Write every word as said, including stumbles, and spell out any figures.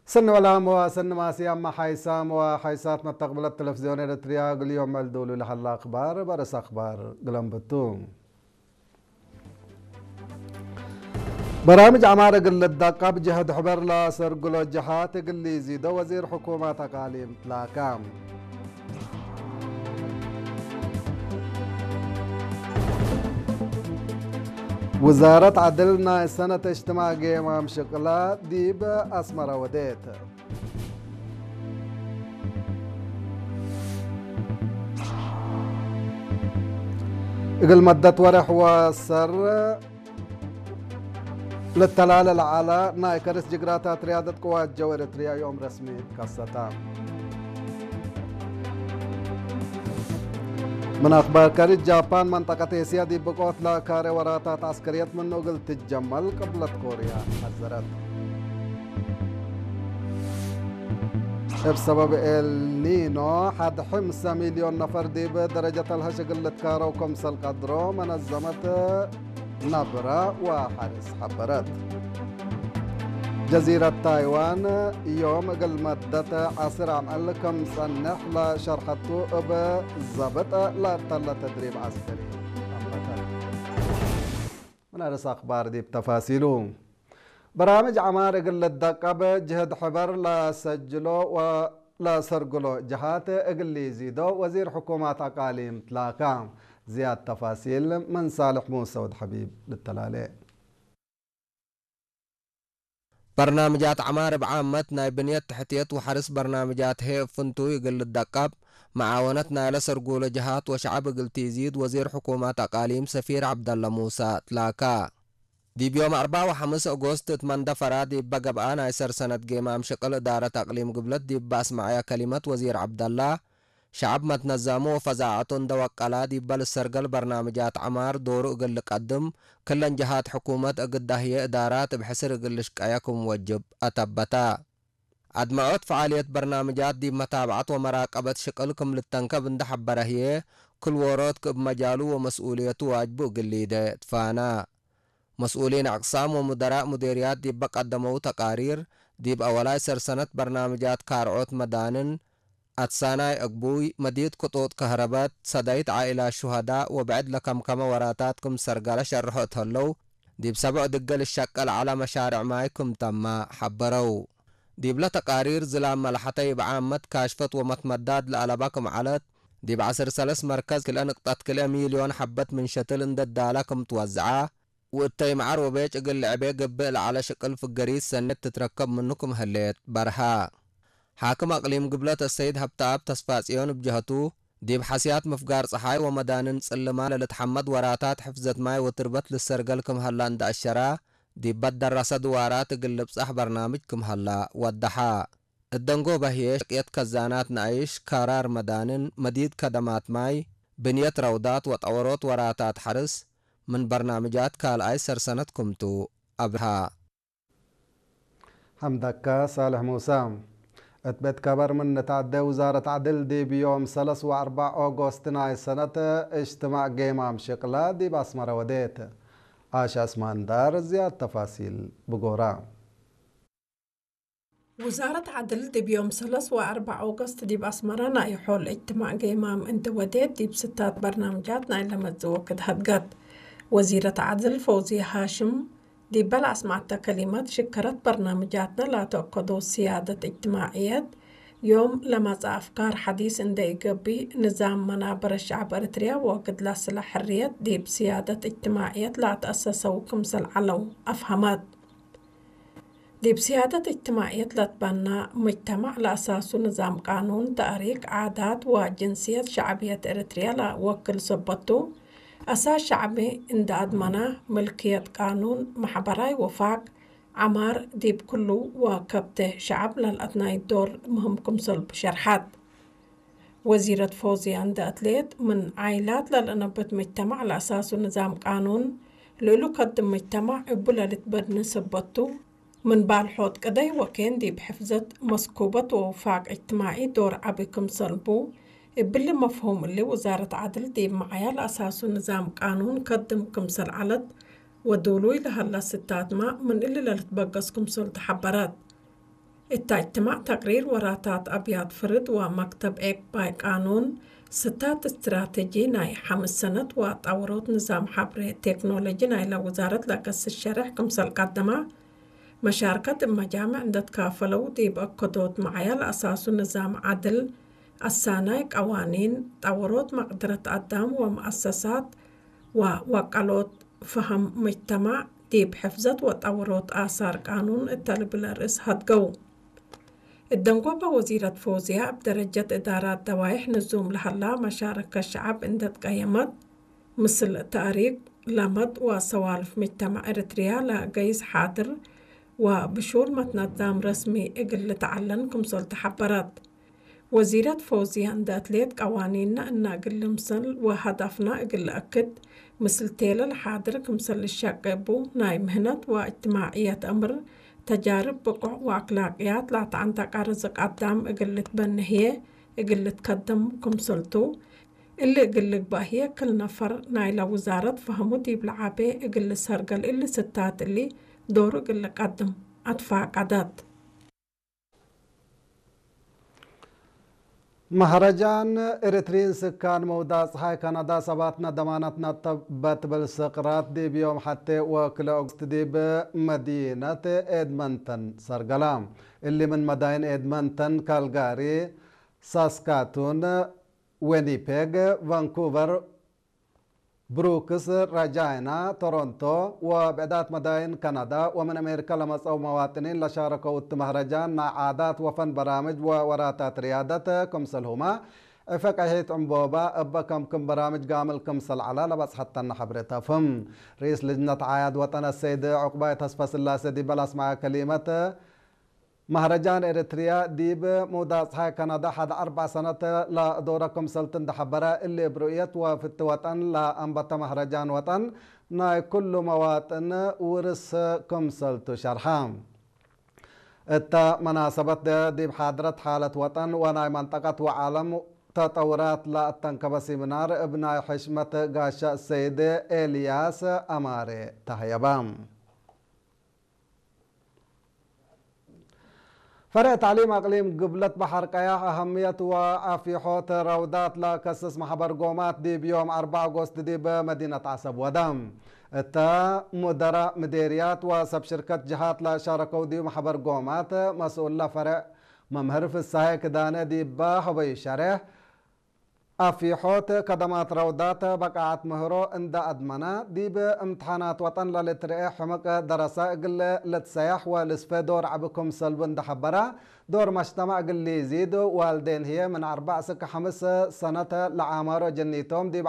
ሰኒ ወላም ወሰኒ ማስያም ሓይሳም ወሓይሳት መተቅብለት ተለፍዝዮን ኤረትርያ፣ እግል ዮም ዕልዱሉ ለሀላ አክባር በርስ አክባር ግለንብቱ። በራምጅ ዐማር እግል ልዳቃብ ጀህድ ሕበር ለአሰርግሎ ጀሃት እግል ሊዚዶ ወዚር ሕኩመት አቃሊም ትላካ። ውዛረት ዐድል ናይ ሰነት እጅትማዕ ጌማም ሽቅላ ዲብ አስመረ ወዴት። እግል መደት ወሬሕ ወሰር ልተላለ ለዐለ ናይ ከርስ ጅግራታት ርያደት ቅዋት ጀው ኤረትርያ ዮም ረስሚ ከሰተ። ምን አክባር ከርስ ጃፓን መንጠቀት ኤስያ ዲብ ብቆት ለካሬ ወራታት ዐስከርየት ምኑ እግል ትጀመል ቅብለት ኮርያ ሐዘረት። እብ ሰበብ ኤልኒኖ ሐድ ሕምሰ ሚልዮን ነፈር ዲብ ደረጀት አልሀሽ እግል ልትካረው ክምሰል ቀድሮ መነዘመት ነብረ ወሐርስ ሐበረት። ጀዚረት ታይዋን ዮም እግል መደት ዐስር አምዕል ክም ጸንሕ ለሸርሐቱ እብ ዘብጥ ለተለ ተድሪብ ዐስከሪ አንበተት። ምን አርስ አክባር ዲብ ተፋሲሉ። በራምጅ ዐማር እግል ልደቀብ ጅህድ ሕበር ለሰጅሎ ወለሰርግሎ ጀሃት እግል ሊዚዶ ወዚር ሕኩማት አቃሊም ትላካ። ዝያድ ተፋሲል ምን ሳልሕ ሙሰ ወድ ሐቢብ ልተላሌ። በርናምጃት ዐማር እብ ዓመት ናይ ብንየት ተሕትየት ወሐርስ በርናምጃት ህዬ እብ ፍንቱይ እግል ልደቀብ፣ መዓወነት ናይለ ሰርጉለ ጀሃት ወሸዐብ እግል ቲዚድ ወዚር ሕኩመት አቃሊም ሰፊር ዐብደለ ሙሰ ትላካ። ዲብ ዮም አርበዕ ወሐምስ ኦጎስት እት መንደፈራ ዲበ ገብአ ናይ ሰርሰነት ጌማም ሽቅል እዳረት አቅሊም ግብለት ዲብ አስመዐየ ከሊመት ወዚር ዐብደላ፣ ሸዐብ መትነዛሙ ወፈዛዐቱ እንደ ወቀላ፣ ዲበ ልሰርገል በርናምጃት ዐማር ዶሩ እግል ልቀድም፣ ክለን ጀሃት ሕኩመት እግዳ ህዬ እዳራት እብ ሕስር እግል ልሽቀየ ክም ወጅብ አተበተ። አድመዖት ፈዓልየት በርናምጃት ዲብ መታብዐት ወመራቀበት ሽቅል ክም ልተንከብ እንደ ሐበረ ህዬ፣ ክል ዎሮት ክእብ መጃሉ ወመስኡልየቱ ዋጅቡ እግል ሊደ ትፋና። መስኡሊን አቅሳም ወሙደራእ ሙዴርያት ዲበ ቀደመው ተቃሪር፣ ዲብ አወላይ ሰርሰነት በርናምጃት ካርዖት መዳንን፣ አትሳናይ አግቡይ፣ መዲት ክጡጥ ከህረበት፣ ሰዳይት ዓኢላት ሹሀዳእ ወብዕድ ለከምከመ ወራታት ክም ሰርገለ ሸርሖ እት ህለው፣ ዲብ ሰብዕ ድገ ልሸቀል ዐለ መሻርዕ ማይ ክም ተመ ሐበረው። ዲብለ ተቃሪር ዝላም መልሐተ እብ ዓመት ካሽፈት ወመትመዳድ ለአለበ ክም ዐለት፣ ዲብ ዐስር ሰለስ መርከዝ ክልኤ ንቅጠት ክልኤ ሚልዮን ሐበት ምን ሸትል እንደ ዳለ ክም ትወዝዐ፣ ወእተይ መዓር ወቤጭ እግል ልዕቤ ገብእ ለዐለ ሽቅል ፍገሪት ሰኔት ትትረከብ ምኑ ክም ህሌት በርሀ። ሓክም አቅሊም ግብለት አሰይድ ሀብተአብ ተስፋጽዮን እብ ጀሀቱ፣ ዲብ ሐስያት ምፍጋር ጸሓይ ወመዳንን ጽልማ ለልትሐመድ ወራታት ሕፍዘት ማይ ወትርበት ልሰርገል ክም ሀላ እንደ አሸራ፣ ዲብ በደረሰ ድዋራት እግል ልብጸሕ በርናምጅ ክም ሀላ ወደሐ። እት ደንጎበ ህዬ ሸቅየት ከዛናት ነአይሽ፣ ካራር መዳንን፣ መዲድ ከደማት ማይ፣ ብንየት ረውዳት ወጠወሮት ወራታት ሐርስ ምን በርናምጃት ካልኣይ ሰርሰነት ክምቱ አብርሃ። ሐምደከ ሳልሕ ሙሰ። እት ቤት ከበር ምን ንትዐዴ፣ ውዛረት ዐድል ዲብ ዮም ሰለስ ወአርበዕ ኦጎስት ናይ ሰነት እጅትማዕ ጌማም ሽቅለ ዲብ አስመረ ወዴት። አሸ እስማንዳር ዝያድ ተፋሲል ብጎራ። ውዛረት ዐድል ዲብ ዮም ሰለስ ወአርበዕ ኦገስት ዲብ አስመረ ናይ ሖል እጅትማዕ ጌማም እንዴ ወዴት፣ ዲብ ስታት በርናምጃት ናይለ መጽእ ወክድ ሀድገት። ወዚረት ዐድል ፈውዝየ ሃሽም ዲበ ለአስመዐተ ከሊመት፣ ሽከረት በርናምጃትነ ላተአከዶ ስያደት እጅትማዕየት፣ ዮም ለመጽአ አፍካር ሐዲስ እንዴ ኢገብእ፣ ንዛም መናበረ ሸዐብ ኤረትርያ ወክድ ለአስለ ሕርየት ዲብ ስያደት እጅትማዕየት ለአትአሰሰው ክምሰል ዐለው አፍሀመት። ዲብ ስያደት እጅትማዕየት ለትበና ሙጅተማዕ ለአሳሱ ንዛም ቃኑን፣ ተእሪክ፣ ዓዳት ወጅንስየት ሸዕብየት ኤረትርያ ለወክል ሰበት ቱ፣ አሳስ ሸዕቢ እንደ አድመና፣ ምልክየት ቃኑን፣ መሕበራይ ወፋቅ፣ ዐማር ዲብ ክሉ ወከብተ ሸዐብ ለልአትናይ ዶር ምህም ክምሰል ሸርሐት። ወዚረት ፎዝያ እንደ አትሌት፣ ምን ዓይላት ለልአነብት መጅተማዕ ለአሳሱ ንዛም ቃኑን፣ ልእሉ ከድም መጅተማዕ እቡ ለልትበድኒ ሰበት ቱ፣ ምን ባልሖት ቅደይ ወኬን ዲብ ሕፍዘት መስኩበት ወውፋቅ እጅትማዒ ዶር ዐቢ ክምሰል ቡ፣ እብሊ መፍሁም እሊ ውዛረት ዐድል ዲብ መዓያ ለአሳሱ ንዛም ቃኑን ከድም ክምሰል ዐለት ወዱሉይ ለሀላ ስታትመ ምን እሊ ለልትበገስ ክምሰል ተሐበረት። እታ እጅትማዕ ተቅሪር ወራታት አብያት ፍርድ ወመክተብ ዔቅባይ ቃኑን፣ ስታት እስትራተጂ ናይ ሐምስ ሰነት ወጠውሮት ንዛም ሐብሬ ቴክኖሎጂ ናይለ ውዛረት ለከስስ ሸሬሕ ክምሰል ቀደመ፣ መሻርከት እብ መጃምዕ እንዴ ትካፈለው ዲብ አከዶት መዓያ ለአሳሱ ንዛም ዐድል፣ አሳናይ ቀዋኒን፣ ጠውሮት መቅድረት አዳም ወመአሰሳት ወወቀሎት ፈሀም ሙጅተማዕ ዲብ ሕፍዘት ወጠውሮት አሳር ቃኑን እተ ልብል ርእስ ሀድገው። እደንጎበ ወዚረት ፎዝያ እብ ደረጀት እዳራት ደዋይሕ ንዙም ለሀላ መሻረከት ሸዐብ እንዴ ትቀየመት፣ ምስል ተእሪክ፣ ለመድ ወሰዋልፍ ሙጅተማዕ ኤረትርያ ለገይስ ሓድር ወብሹል መትነዛም ረስሚ እግል ልትዐለን ክምሰል ተሐበረት። ወዚረት ፎዝያ እንዴ አትሌት፣ ቀዋኒንነ እና እግል ልምሰል ወሀዳፍና እግል ለአክድ፣ ምስል ቴለ ለሓድር ክምሰል ልሸቄ እቡ፣ ናይ ምህነት ወእጅትማዕየት አምር፣ ተጃርብ ብቁዕ ወአክላቅያት ላተዐንተቀ ርዝቅ አዳም እግል ልትበኔ ህዬ እግል ልትከደም ክምሰልቱ፣ እሊ እግል ልግበእ ህዬ፣ ክል ነፈር ናይለ ውዛረት ፈሀሙ ዲብ ለዓቤ እግል ልሰርገል እሊ ስታት እሊ ዶሩ እግል ልቀድም አትፋቀደት። መህረጃን ኤሪትሪን ስካን መውዳቅ ጸሓይ ካናዳ ሰባትነ ደማናት ነጠበት እብል ስቅራት ዲብ ዮም ሐቴ ወክልኤ ኦገስት ዲብ መዲነት ኤድመንተን ሰርገላ። እሊ ምን መዳይን ኤድመንተን፣ ካልጋሪ፣ ሳስካቱን፣ ዊኒፔግ፣ ቫንኩቨር፣ ብሩክስ፣ ረጃይና፣ ቶሮንቶ ወብዕዳት መዳይን ካናዳ ወምን አሜሪካ ለመጽአው መዋጥኒን ለሻረከው እት መህረጃን ናይ ዓዳት ወፈን በራምጅ ወወራታት ርያደት ክምሰልሁመ፣ ዕፈ ቀይሒት ዕንቦባ እበ ከምክም በራምጅ ጋምል ክምሰል ዐላ ለበጽሐተነ ሐብሬት አፍህም። ርኢስ ልጅነት ዓያድ ወጠን አሰይድ ዑቅባይ ተስፈስላሴ ዲበ ለአስመዐ ከሊመት፣ መህረጃን ኤረትርያ ዲብ መውዳቅ ጸሓይ ካናዳ ሐድ አርበዕ ሰነት ለአዶረ ክምሰልቱ እንዴ ሐበረ፣ እሊ እብ ሩእየት ወፍቲ ወጠን ለአንበተ መህረጃን ወጠን ናይ ኩሉ መዋጥን ውርስ ክምሰልቱ ሸርሐ። እተ መናሰበት ዲብ ሓድረት ሓለት ወጠን ወናይ መንጠቀት ወዓለም ተጠውራት ለአተንከበ ሲሚናር እብ ናይ ሕሽመት ጋሻ ሰይድ ኤልያስ አማሬ ተሀየበ። ፈሬዕ ተዕሊም አቅሊም ግብለት በሐር ቀያሕ አሀምየት ወአፊሖት ረውዳት ለከስስ መሕበር ጎማት ዲብ ዮም አርበዕ ኦጎስት ዲብ መዲነት ዐሰብ ወደ። እተ ሙደራእ ምዴርያት ወሰብ ሽርከት ጀሃት ለሻረከው ዲብ መሕበር ጎማት መስኡለ ፈሬዕ መምህር ፍሳሄ ክዳነ ዲበ ሀበዩ ሸሬሕ፣ አፊሖት ከደማት ረውዳት በቃዐት ምህሮ እንደ አድመነ፣ ዲብ እምትሓናት ወጠን ለልትርኤ ሕምቅ ደረሰ እግል ልትሰያሕ ወልስፌ ዶር ዐቢ ክምሰልቡ እንደ ሐበረ፣ ዶር መጅተመዕ እግል ሊዚድ፣ ዋልዴን ህዬ ምን አርበዕ እስክ ሐምስ ሰነት ለዓማሮ ጀኒቶም ዲብ